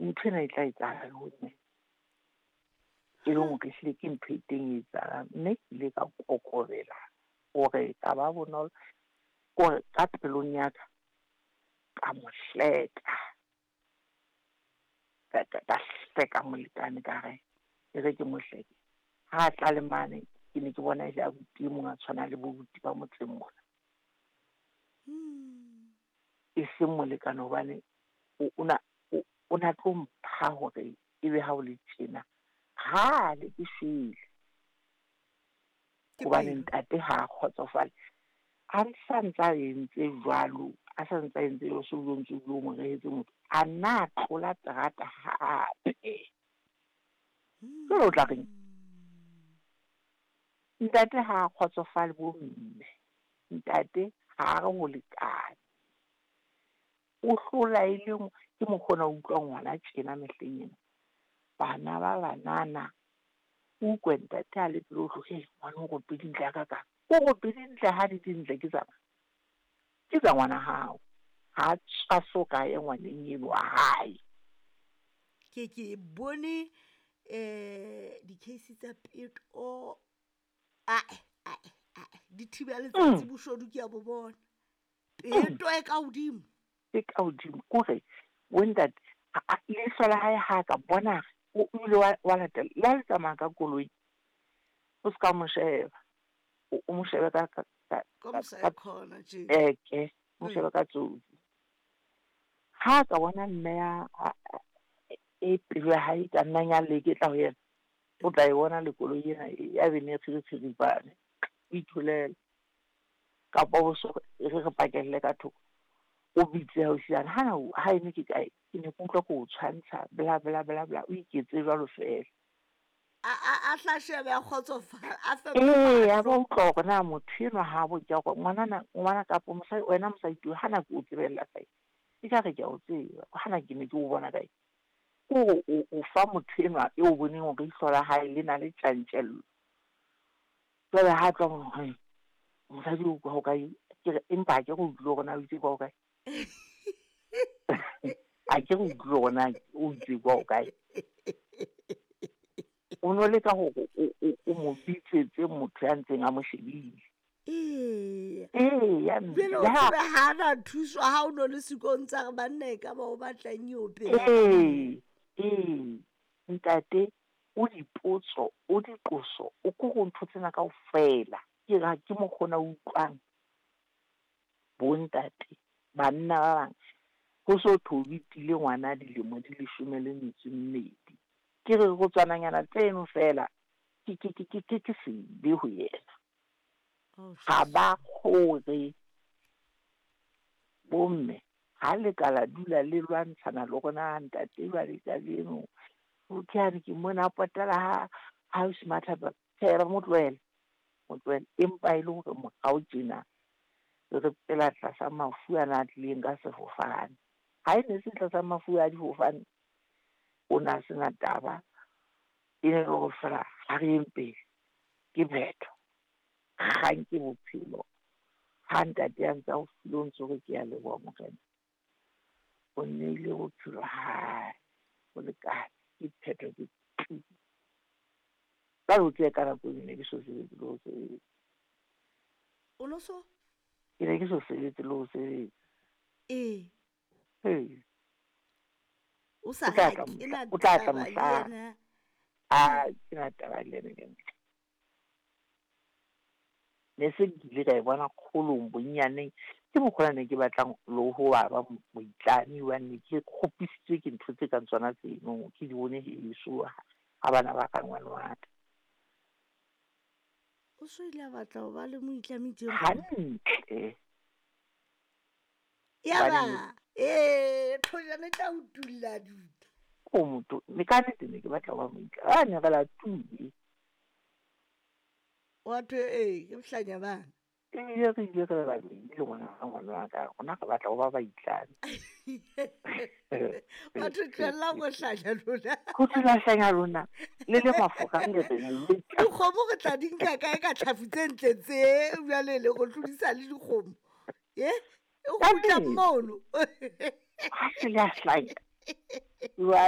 Ntho ena e tla etsahala le ho nna. E leng hore ehlile ke ntho e teng e etsahalang. Mme ke ile ka kokobela hore ka ba bonolo kore ka pelong ya ka, ka mo hleka. Ka hleka molekane ka re, e re ke mo hleke. Ha a tla le mane, ke ne ke bona e le abuti e mong a tshwanang le bo buti ba motseng mona. E seng molekane hobane o na tlo mpha hore ebe ha o le tjena. Kgale ke shwele. Hobane ntate ha a kgotsofale. A sa ntsa entse jwalo, a sa ntsa entse jwalo, so o ntso o mo rehetse motho. A nna a tlola terata hape. Jwale o tla reng? Ntate ha a kgotsofale bo mme. Ntate ha a re ho lekane. O hlola e le ke mokgona o utlwa ngwana tjena mehleng ena. Bana ba banana, o utlwe ntate a le pele o tlo, hei, ngwana o rope dintle ha kakang. O rope dintle ha di dintle ke tsa mang? Ke tsa ngwana hao. Ha tswa so ka ye ngwaneng eno wa hae. Ke bone di-case tsa peto ae ae ae di thiba letsatsi boshodu ke a bo bona. Peto e ka hodimo. E ka hodimo kore bo ntate leihlo la hae ha ka bona o ile wa latela le ha le tsamaya ka koloi o ska mo sheba. O mo shebe ka eke mo shebe ka tsotsi. Ha ka bona mme ya e pelo ya hae ka nnang ya leketla ho yena, o tla e bona le koloi ena ya bene e o itholela. Kapa o so re re pakelle ka thoko. O bitse hausiana hana ha ene ke kae, ke ne ke utlwa ke o tshwantsha bla bla bla bla, o iketse jwalo fela. A tla shebe a kgotsofala, a fe Ee, a ba utlwa hore na motho enwa ha bo ke hore ngwanana ngwana kapa mosadi wena mosadi tuwe hana ke o tsebella kae. E ka re ke a o tseba, hana ke ne ke o bona kae. Kore o fa motho enwa e o boneng hore ihlo la hae le na le tjantjello. Jwale ha tloha mo he mosadi o kwa ho kae, ke re empa ha ke re utlwile hore na o itse kwa ho kae. Ha ke re utlwile hore na o itse kwa ho kae. O no leka hore o mo bitsetse motho ya ntseng a mo shebile. Ee. Ee, ya mme. Jwale o tsebe ha na thuswa ha o no le sekong tsa re banna e ka ba o batlang eo pele. Ee, ee. Ntate o dipotso, o diqoso, o ko go ntho tsena kaofela. Ke ra ke mokgona o utlwang bo ntate banna ba bang ho so thwe o bitile ngwana dilemo di 12. Ke re go tswananyana tseno fela ke ke ke ke ke sebe ho yena. Ga ba kgore bomme ha le ka la dula le lwantshana le rona ntate jwale kajeno. O ke a re ke mona a potela ha ha o smarta tjhe mo tlohele. Mo tlohele empa e le hore morao tjena re phela tlasa mafu ana a tlileng ka sefofane. Ha e ne se tlasa mafu a difofane, o na sena taba. E ne le hore fela ha re yeng pele ke phetho. Kgang ke bophelo. Ha ntate a ntsa o file o ntso re ke a leboha morena. O nneile bophelo ha ho lekane ke phetho ke tu. Jwale o tsebe ka nako eo ne ke so sebetse le ho sebetsa. O no so? Ke ne ke so sebetse le ho sebetsa. Ee. Ee. O sa O tla tla ha ke na mohla, o tla tla taba le mohla. yena. A ke na taba le yena ke ntle. Ne se ke ile ka e bona kgolong bonyaneng. Ke mokgwa ne ke batlang le ho ba ba moitlami hobane ne ke kgopisitswe ke ntho tse kang tsona tseno. Ke di bone heso ha bana ba ka ngwana wa ka. O so ile a batla ho ba le moitlami tje? Hantle. Ya ba, ee, thojana e tla o tulla duta. O motho, ne ka nnete ne ke batla ho ba moitlami. A ne re la tule. Wa thwe, ee, ke bohlanya bana. Ebile re ile re ba babedi le ngwana ngwana wa ka, rona re batla ho ba baitlami. Batho tlohella go hlanya lona. Ho tlohella hlanya lona. Le le mafura le re le. Dikgomo re tla di nka kae ka tlhafu tse ntle tse jwale le go tlodisa le dikgomo. E kgutla mono. Ha se le a hlanya. Jwale